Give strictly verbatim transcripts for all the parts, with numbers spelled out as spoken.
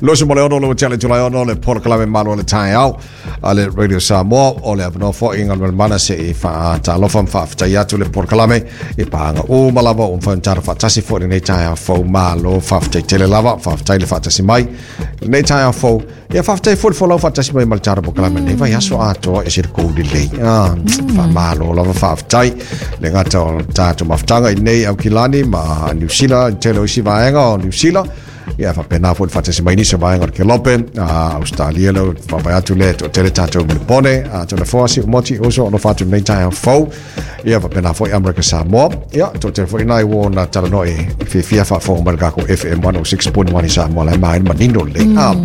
Luasefulu ma le ono le tele tulai ono le polokalame Malo o le Taeao a le Radio Samoa. O le avanoa foi i galuega se i faatalofa ma faafetai atu le polokalame i paaga uma lava ua mafai ona tatou faatasi foi i lenei taeao fou. Malo faafetai tele lava, faafetai le faatasi mai i lenei taeao fou. Ia faafetai foi le folau faatasi mai ma le tatou polokalame lenei vaiaso atoa e se le kou lelei. Ah, faamalo lava, faafetai le gata o le tatou mafutaga i nei Aukilani ma Niu Sila, i tele o isi vaega o Niu Sila. Ia faapena foi le faatasi mai nisi o vaega o le Kelope, a Australia le faavae atu le toatele tatou Melebone, a tona foa si umoti uso o no fatu nei taeao fou. Ia faapena foi Amerika Samoa. Ia toatele foi nai ua na talanoa e fiafia faafofoga mai le kako F M one oh six point one i Samoa lai ma manino lelei. Ah,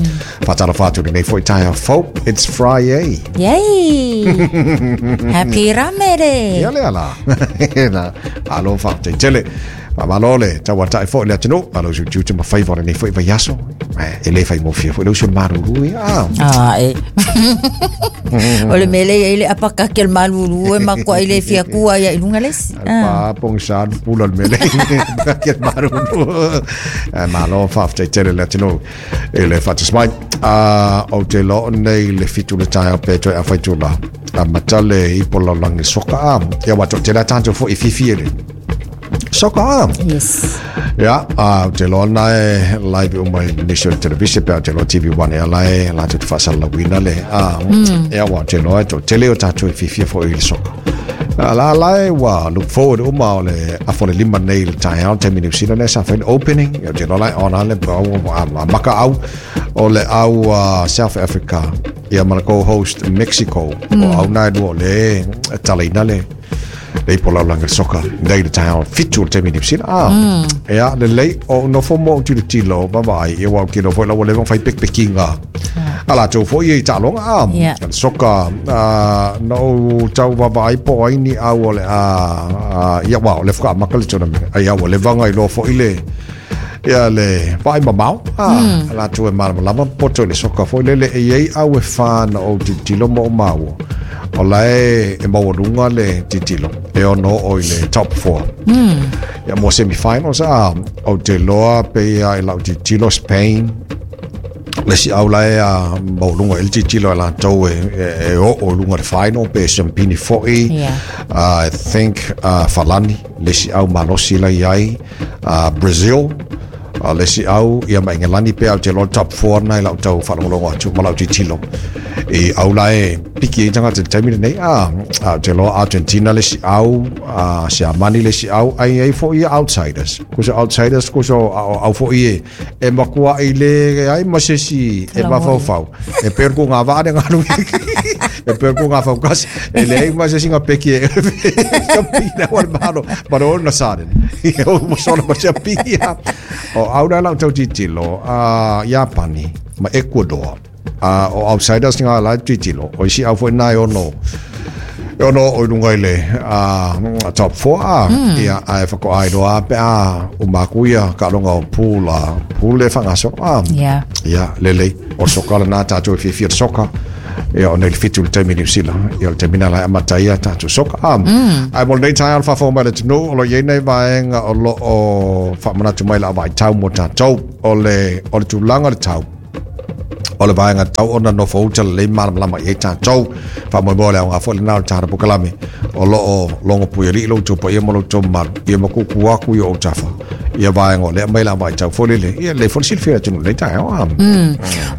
faatalofa atu lenei foi taeao fou. It's Friday. Yay! Happy Ramere! Ia le ala. Na, alo faafetai tele. Faamalo le tauatai foi le atunuu, alo utiuti ma faiva o lenei foi vaiaso. E le faigofie foi le usu o le malulu ia. Ah. Ah, e. O le mele ia ile apakake le malulu e makoa ile fia kua ia ilunga lesi. Ah. Pa pong sa pula le mele. Ke malulu. Eh, malo faafetai tele le atunuu i le faatasi mai. Ah, o te loo nei le fitu le taeao pe toe afaitula. Amata le ipo lalagi soka a. Ia wa to te la tatou foi fifi le soka a. Yes. Ia, a te loa na e live uma i National Television pe te loa T V one e ala e latou te faasalalauina le a ia ua te loa e toatele o tatou e fiafia foi i le soka. A la la e ua look forward uma o le afa o le lima nei le taeao taimi New Zealand e sa fai le opening. Ia te loa lai ona le a, a maka au o le au uh, South Africa ia ma le co-host Mexico mm. o au nai lua o le talaina le le ipo lalagi le soka nei le taeao fitu o le taimi New Zealand. Ah, ia lelei o nofo mo tilotilo vavaai ia ua kilo foi la ua leva ona fai pekipekiga a latou foi i taaloga a Yeah. le soka ah, na ou tau vavaai po ai ni au o le a ia ua o le faamaka le tournament ai ua leva ona iloa foi le ia le vaai mamao a mm. latou e malamalama poto i le soka foi lele e iai au e whā na ou tilotilo ma o maua o la e e maualuga le tilotilo e ono o i le top four mm. ia mo semifinals a ou te loa pe ia i lau tilotilo Spain le si au la e a maualuga i le tilotilo e latou e, e, e oo i luga le final pe siampini foi. Yeah. uh, I think uh, Falani le si au malosi la iai uh, Brazil uh, le si au ia ma Ingelani pe au te loa top four na i lau tau faalogologo atu ma lau tilotilo i au la e piki ai tagata i le taimi lenei a a te loa Argentina le si au a Siamani le si au ai ai foi ia outsiders kuso outsiders kuso au, au foi e e makua i le ai ma se si e mafaufau e per ku ngā vaa ne ngalu e per ku ngā faukasi e le ai ma se singa peki e pina o le malo but all na sudden o mo sona ma se pia o au la lau tau tilotilo a Iapani ma Ecuador a o outsiders nga la tilotilo o isi au foi nai ono e ono o i lunga i le a top four a ia a e whakoai roa pe a o maku ia ka longa o pool a pool e whangasoro a. Yeah. Ia lelei o soka le nā tātou e fiafia le soka ia o nei le fitu le taimi New Zealand ia o le taimi nā lai amata ia tātou soka a mm. Ai mo lenei taeao le faafofoga mai le atunuu o lo iai nei vaega o lo o faamanatu mai le avaitau mo tātou o le o le tulaga le tau o le vaega tau ona nofo uta lelei malamalama i ai tatou faamoemoe le aoga foi lenā o le tatou polokalame o lo o logo puialii lo outou paia ma lo outou mamalu ia ma kuku aku i o tafa ia vaega o lea mai le avaitau foi lele ia lelei foi le silafia le atunuu lenei taeao a.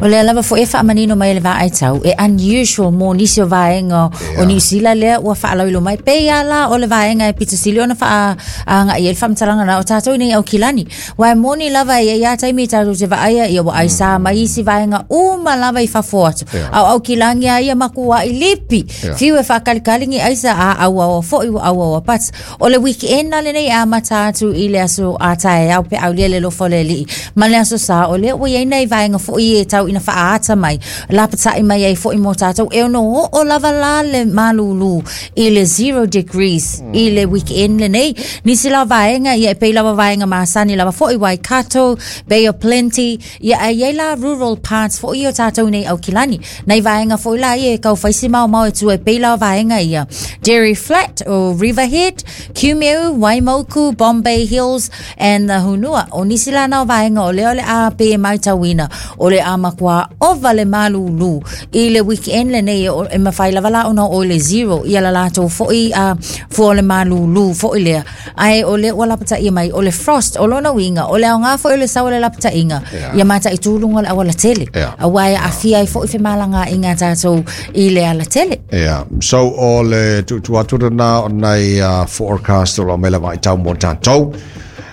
O lea lava foi e faamanino mai le vaaitau e unusual mo nisi o vaega o New Zealand lea ua faalauilo mai pe ia la o le vaega e pito sili ona faa aga i le faamatalaga na o tatou nei Aukilani wa e moni lava ia ia taimi tatou te vaaia ia ua aisa mai isi vaega uma lava i fafo atu Yeah. au Aukilani a ia makua i lipi Yeah. fiu e faakalikali ni aisa a auaua foi ua auaua but o le weekend na lenei a mata atu i le aso a taeao pe aulia le lofo le alii ma le aso sa o lea ua iai nai vaega foi e tau ina faaata mai lapatai mai ai foi mo tatou e ono oo lava la le malulu i le zero degrees i le weekend lenei nisi la vaega ia e pei lava vaega masani lava foi Waikato, Bay of Plenty ia ai ai la rural parts foi o tatou nei Aukilani nai vaega foi la ia e kau faisi mau mau e tu e pei la vaega ia Dairy Flat o Riverhead, Kumeu, Waimoku, Bombay Hills and and the Hunua. O nisi lana o vaenga o lea o le a pe mai tauina o le a makua ova le malulu i le weekend le nei o e mawhai lava la ona o le zero ia la latou foi a fua o le malulu foi lea. Ai o le ua lapataia mai o le frost o lona uiga o le aoga foi o le sau o le lapataiga Yeah. ia mataitū luga o le aualatele. Yeah. Auā e aafia ai foʻi femalagaaiga a tatou i le alatele. Yeah. So o le tuutuu atu lena o nai uh, forecast o lo o mai lava i tau mo tatou.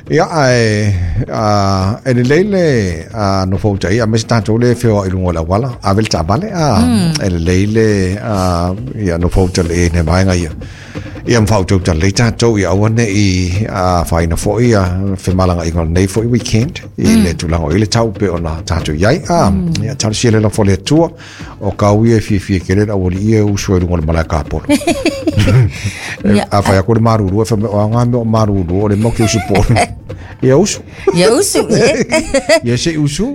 Ia ae uh, e lelei le uh, nofo tai a me se tatou le feoai i luga o le auala ave le taavale a e lelei le uh, ia nofo le ne vaega ia. Ia mawhautau lelei tatou ia aua nei uh, faaina foʻi ia femalagaaiga o lenei foʻi weekend i le tulaga o i le tau pe ona tatou iai a ia talosia le lafo le Atua o kau ia e fiafia kele le aualii e usu ai luga o le malae kapolo. Ia. A fai aku le maruru e fai mai, o aga mea o maruru o le mau ke usu polu. Ia usu. Ia usu e. Ia se usu.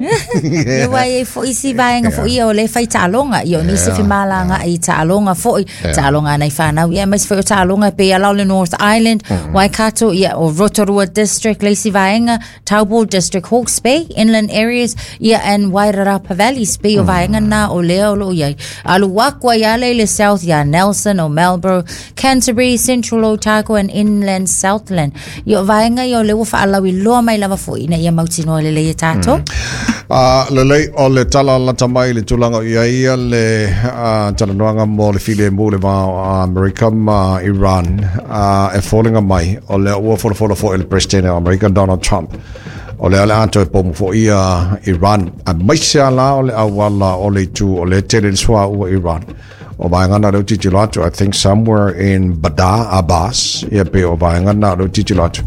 Ia uā e foʻi isi vaega foʻi ia o le fai taaloga ia o nisi Yeah, femalagaai taaloga foʻi taaloga nai fanau ia aemaise foi o taaloga e pei ala o le North Island, Waikato ia o Rotorua District le isi vaega Taupo District, Hawke's Bay, inland areas ia and Wairarapa Valleys pei o vaega na o lea o loo iai alu aku ai ale i le South ia Nelson o Marlborough, Canterbury, Central Otago and Inland Southland ia o vaega ia o lea ua faalauiloa mai lava foʻi ina ia mautinoa lelei e tatou. Uh, lelei o le tala lata mai le tulaga o ia ia le uh, talanoaga mo le filemu le va o Amerika ma Iran uh, e foliga mai o lea ua folafola foʻi le President o Amerika Donald Trump o lea le a toe pomu foʻi ia Iran aemaise a la o le auala o le itu o le tele le suauu Iran o vaega na leo tilotilo atu. I think somewhere in Bandar Abbas ia pe o vaega na leo tilotilo atu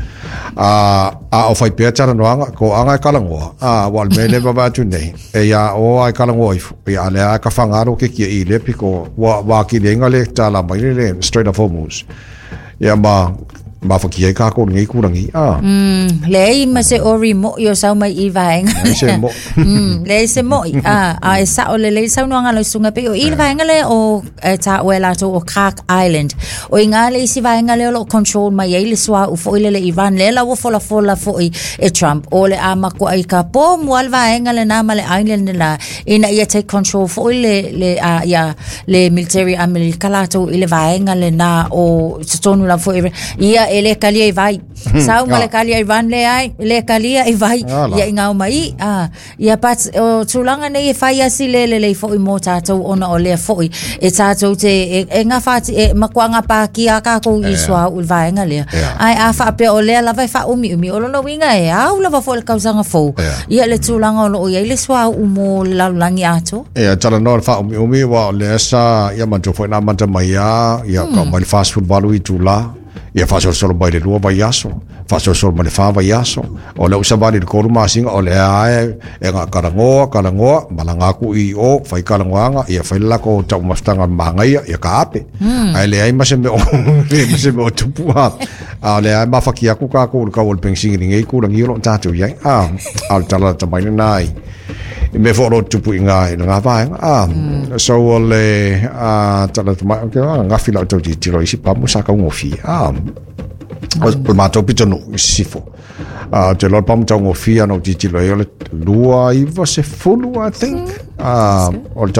a a o fai pea talanoaga ko anga e kalagoa a wa le mea le vava atu nei e ia o ai kalagoa ifo ia le a ka fagalo ke kia i le piko wa wa ki lenga le tala mai le le Strait of Hormuz ia ma mafakia ai kākou lenei kulangi a Mm, leai ma se ori moʻi o sau mai i vaega. Se mo Mm, leai se moʻi a a e sao lelei saunoaga lau susuga pei o i le vaega lea o e taua e latou o Kharg Island o i gā le isi vaega lea o loo control mai ai le suauu foʻi lele Iran lea la ua folafola foʻi e Trump o le a makuaʻi ka pomu a le vaega lenā ma le island lenā ina ia take control foʻi le le a ia le military Amerika latou i le vaega lenā o totonu lava foʻi ia e le kalia i vai sau ma le kalia Iran le ai le kalia i vai Ala. ia i ngau mai a ia pat o tulaga nei e fai asi le lelei foʻi mo tatou ona o lea foʻi e tatou te e, e gafati e makuaga pakia kākou i suauu i le vaega lea. Yeah. Ae a faapea o lea lava e faaumiumi o lona uiga e au lava foʻi le tausaga fou Yeah. ia le tulaga o loo iai le suauu mo le lalolagi atoa. Ia talanoa le faaumiumi ua o lea sa ia matou foʻi na amata mai a ia ka mai le fasefuluvalu itulā ia faasolosolo mai le lua vaiaso faasolosolo mai le fa vaiaso o lea ua savali le tolu masina o lea ae e gakalagoa kalagoa malaga aku i o fai kalagoaga ia fai le lako taumafataga magaia ia ka ape ae leai ma se mea o ma se mea o tupu a a o lea ae mafaki aku kākou i le kau o le penisini i lenei kulagi o loo tatou iai a a o le tala lata mai lenā i i mea foi o lo tupu i ngā i ngā vaega a so o le a tala mai ke a ngafi lau tau tiro isi pamu sa kaugofie a o le matou pitonuu i sisifo a te loa le pamu taugofie ana ou tilotilo ai o le lua iva sefulu, I think, a o le